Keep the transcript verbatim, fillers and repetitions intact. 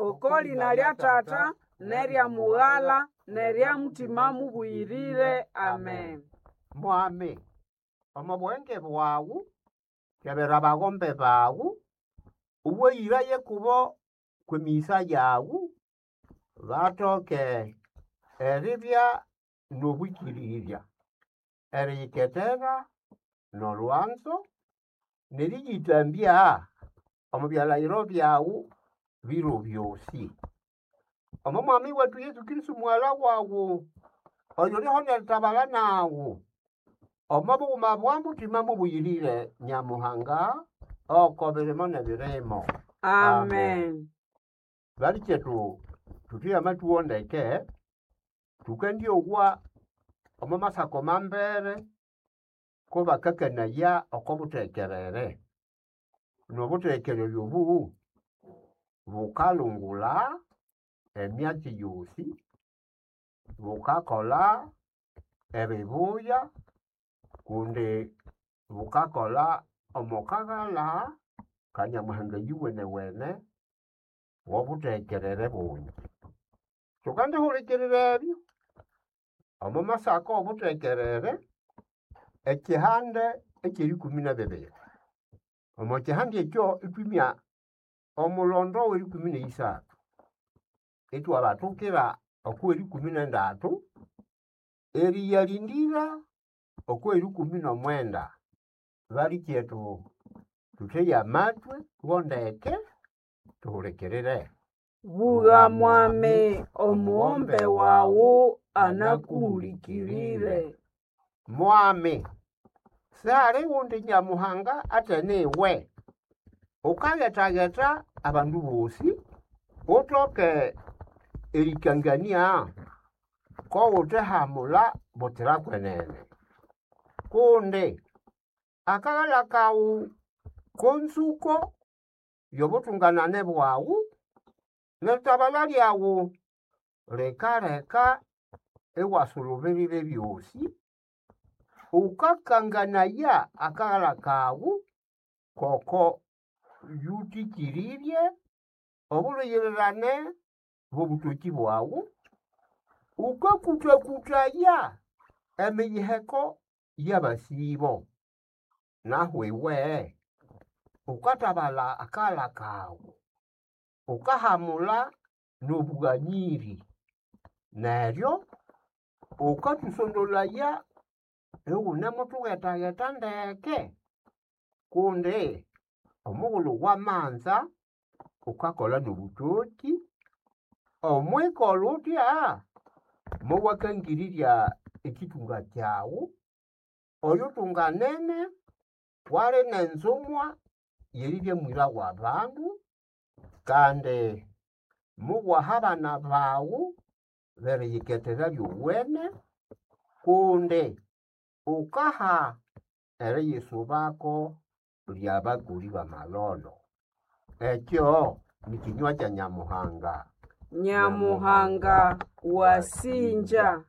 Oko lina lya Tata n'erya Mughala n'erya Mutima Mubuyirire. Amen. Mwami, omo buhenge bwawu kebera abagombe bawu, uweyiraye kubo kw'emiyisa yawu, bathoke eribya n'obwikirirya, eriyiketera n'olwanzo, n'eriyithambya omo byalhayiro byawu biro byosi. Omo mwami wethu Yesu Kristo mughala wawu, oyuliho n'eritabala nawu, omo bughuma bwa Mutima mubuyirire Nyamuhanga, oko birimo n'ebirimo. Amen. Balikyetu thuthwe amathuwo ndeke, thukendyowa omo masako mambere kubakakanaya oko buthekerere. N'obuthekerere obu bukalungula emyatsi yosi, bukakolha ebibuya kundi bukakolha omo kaghalha ka Nyamuhanga yuwenewene w'obuthekerere bungi. Thukandihulikirira ebyo omo masako obuthekerere ekyihande eky'erikumi n'ebibiri. Omo kyihande ekyo ithwimya omulondo w'erikumi n'eyisathu, ithwabathukira okw'erikumi n'endatu, eriyalindira okw'erikumi n'omwenda. Balikyethu thutheye amathwe wo ndeke thuhulikirire. Bugha mwami, omughombe wawu anakuhulikirire. Mwami, sihali ghundi Nyamuhanga athene iwe. Ukaghethagetha abandu bosi, uthoke erikangania k'oghuthehamula butsira kwenene. Kundi akaghalha kawu k'onzuko y'obutunganane bwawu, n'eritabala lyawu likaleka iwasulubirira ebyosi. Wukakanganaya akaghalha kawu k'oko yuthĩkĩrĩrye obulhuyirirane bw'obũtokĩ bwawu. Wukakũtakũtaya emiyiheko y'abasĩbo. Nahu iwe wukathabalha akaghalha kawu, wukahamula n'obũganyĩrĩ, neryo wukathũsondolaya ighunimuthughetagheta ndeke kundi omughulhu wamanza wukakolha n'obũtokĩ. Omwikolha uthya mowakangirirya ekyithunga kyawu oyuthunganene wali n'enzumwa y'eribya mwira w'abandu kandi muwaha abana bawu b'eriyikethera lyowene kundi wukaha eriyisubako ly'abakoli b'amalholo. Ekyo ni kinywa kya Nyamuhanga. Nyamuhanga wasinja.